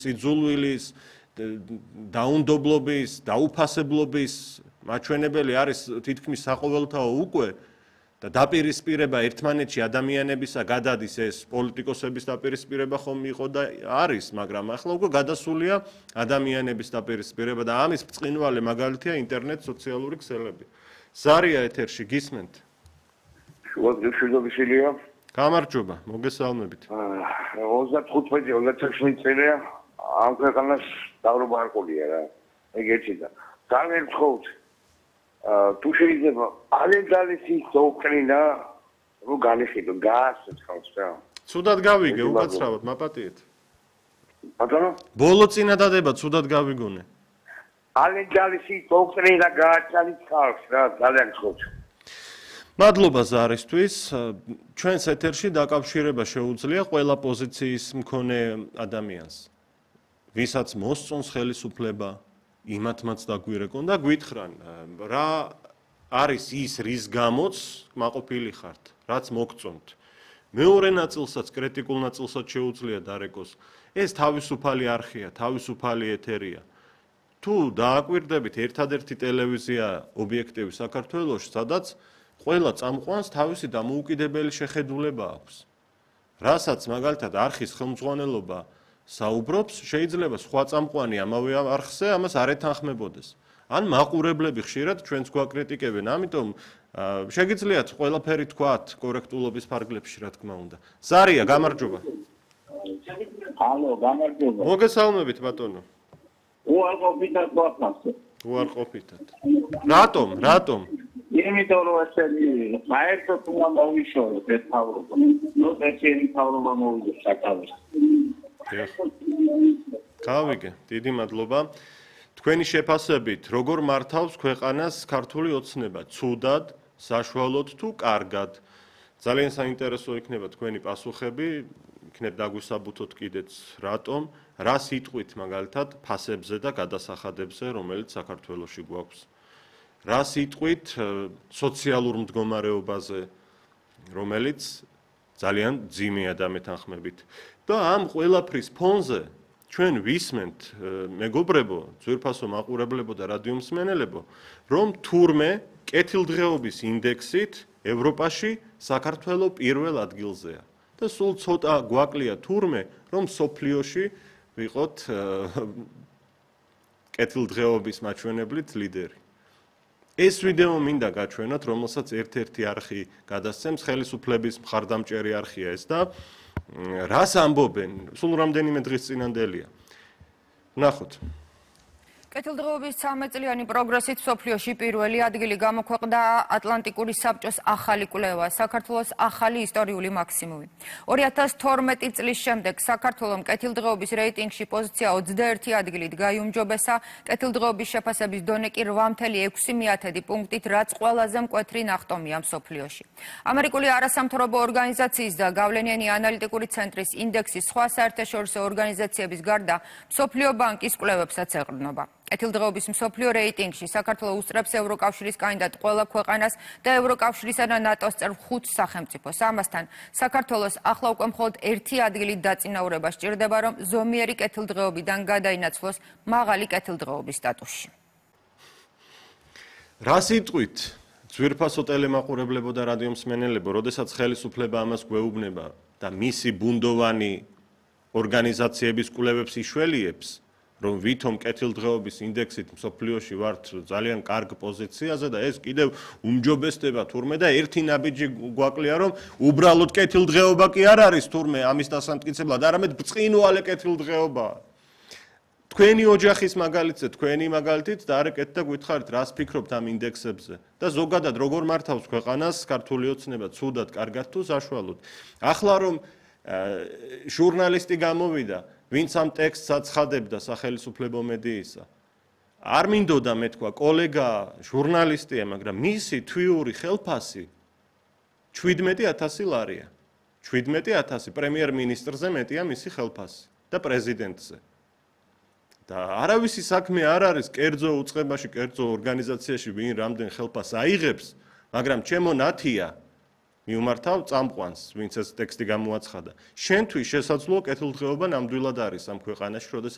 სიძულვილის, დაუნდობლობის, დაუფასებლობის მაჩვენებელი არის თითქმის საყოველთაო უკვე და დაპირისპირება ერთმანეთში ადამიანებისა გადადის ეს პოლიტიკოსების დაპირისპირება ხომ იყო და არის, მაგრამ ახლა უკვე გადასულია ადამიანების დაპირისპირება და ამის ბრწყინვალე მაგალითია ინტერნეტ სოციალური ქსელები. ზარია ეთერში გისმენთ? შუადღეშვილობის ილია. გამარჯობა, მოგესალმებით. 35-36 წელია ამ ქვეყანას დაღრობა არ ყოლია რა. ეგ ერთი და ძალიან ვთხოვთ თუ შეიძლება ალეგალისი დოქტრინა რო განიხილო გაასწრებს ხალხს რა. ცუდად გავიგე, უკაცრავად მაპატიეთ. ბატონო? ბოლო წინადადება ცუდად გავიგონე. ალეგალისი დოქტრინა გააჩალით ხალხს რა, ძალიან ვთხოვთ. მადლობა ზარისთვის. ჩვენს ეთერში დაკავშირება შეუძლია ყველა პოზიციის მქონე ადამიანს. ვისაც მოსწონს ხელისუფლება, იმათმაც დაგვირეკონ და გვითხრან, რა არის ის, რის გამოც კმაყოფილი ხართ, რაც მოგწონთ. მეორე ნაწილსაც, კრიტიკულ ნაწილსაც შეუძლია დარეკოს. ეს თავისუფალი არხია, თავისუფალი ეთერია. თუ დააკვირდებით, ერთადერთი ტელევიზია ობიექტივი საქართველოში, სადაც ყველა წამყვანს თავისი დამოუკიდებელი შეხედულება აქვს. რასაც მაგალითად არხის ხელმძღვანელობა საუბრობს, შეიძლება სხვა წამყვანი ამავე არხზე ამას არ ეთანხმებოდეს. ან მაყურებლები ხშირად ჩვენს გვაკრიტიკებენ, ამიტომ შეგიძლიათ ყველაფერი თქვათ კორექტულობის ფარგლებში, რა თქმა უნდა. ზარია, გამარჯობა. ალო, გამარჯობა. მოგესალმებით, ბატონო. უარყოფითად გვაფასე. უარყოფითად. რატომ? იმიტომ რომ ესენი საერთოდ უნდა მოვიშოროთ ეს თავრობა. ნუ ესენი თავრობა მოვიდოს საკავეს. გავიგე, დიდი მადლობა. თქვენი შეფასებით, როგორ მართავს ქვეყანას ქართული ოცნება, ცუდად, საშუალოდ თუ კარგად? ძალიან საინტერესო იქნება თქვენი პასუხები, იქნებ დაგვისაბუთოთ კიდეც რატომ, რა სიტყვით მაგალითად ფასებზე და გადასახადებზე, რომელიც საქართველოში გვაქვს. რა სიტყვით სოციალურ მდგომარეობაზე, რომელიც ძალიან ძიმეა დამეთანხმებით. და ამ ყველაფრის ფონზე ჩვენ ვისმენთ, მეგობრებო, ძვირფასო მაყურებლებო და რადიო მსმენელებო, რომ თურმე კეთილდღეობის ინდექსით ევროპაში საქართველო პირველ ადგილზეა. და სულ ცოტა გვაკლია თურმე, რომ სოფლიოში ვიყოთ კეთილდღეობის მაჩვენებლით ლიდერი. ეს ვიდეო მინდა გაჩვენოთ, რომელსაც ერთ-ერთი არხი გადასცემს, ხელისუფლების მხარდამჭერი არხია ეს და რას ამბობენ? სულ რამდენიმე დღის წინანდელია. ნახოთ. კეთილდღეობის 13-წლიანი პროგრესით მსოფლიოში პირველი ადგილი გამოქვეყნდა ატლანტიკური საბჭოს ახალი კვლევა, საქართველოს ახალი ისტორიული მაქსიმუმი. 2012 წლის შემდეგ საქართველომ კეთილდღეობის რეიტინგში პოზიცია 21 ადგილით გაიუმჯობესა, კეთილდღეობის შეფასების დონე კი 8.6 პუნქტით, რაც ყველაზე მკვეთრი ნახტომია მსოფლიოში. ამერიკული არასამთავრობო ორგანიზაციის და გავლენიანი ანალიტიკური ცენტრის ინდექსის სხვა საერთაშორისო ორგანიზაციების გარდა მსოფლიო ბანკის კვლევებსაც ეყრდნობა. კეთილდღეობის მსოფლიო რეიტინგში საქართველო უსწრებს ევროკავშირის კანდიდატ ყველა ქვეყანას და ევროკავშირისა და ნატოს წევრ 5 სახელმწიფოს. ამასთან საქართველოს ახლა უკვე მხოლოდ 1 ადგილით დაწინაურება სჭირდება, რომ ზომიერი კეთილდღეობიდან გადაინაცვლოს მაღალი კეთილდღეობის სტატუსში. რა სიტყვით ძვირფასო ტელემაყურებლებო და რადიო მსმენელებო, როდესაც ხელისუფლება ამას გვეუბნება და მისი ბუნდოვანი ორგანიზაციების კვლევებს იშველიებს, რომ ვითომ კეთილდღეობის ინდექსით მსოფლიოში ვართ ძალიან კარგ პოზიციაზე და ეს კიდევ უმჯობესდება თურმე და ერთი ნაბიჯი გვაკლია, რომ უბრალოდ კეთილდღეობა კი არ არის თურმე ამის დასამტკიცებლად, არამედ ბრწყინვალე კეთილდღეობაა. თქვენი ოჯახის მაგალითზე, თქვენი მაგალითით დაარეკეთ და გითხარით, რას ფიქრობთ ამ ინდექსებზე და ზოგადად როგორ მართავს ქვეყანას ქართული ოცნება, ცუდად, კარგად თუ საშუალოდ. ახლა რომ ჟურნალისტი გამოვიდა, ვინც ამ ტექსტს აცხადებდა სახელისუფლებო მედიისა. არ მინდოდა მეთქვა, კოლეგა ჟურნალისტია, მაგრამ მისი თვიური ხელფასი 17,000 ლარია. 17,000 პრემიერ-მინისტრზე მეტია მისი ხელფასი და პრეზიდენტზე. და არავისი საქმე არ არის კერძო უწყებაში, კერძო ორგანიზაციაში ვინ რამდენ ხელფასს აიღებს, მაგრამ ჩემო ნათია მიუმართავ წამყვანს, ვინც ეს ტექსტი გამოაცხადა. შენთვის შესაძლოა კეთილდღეობა ნამდვილად არის ამ ქვეყანაში, როდესაც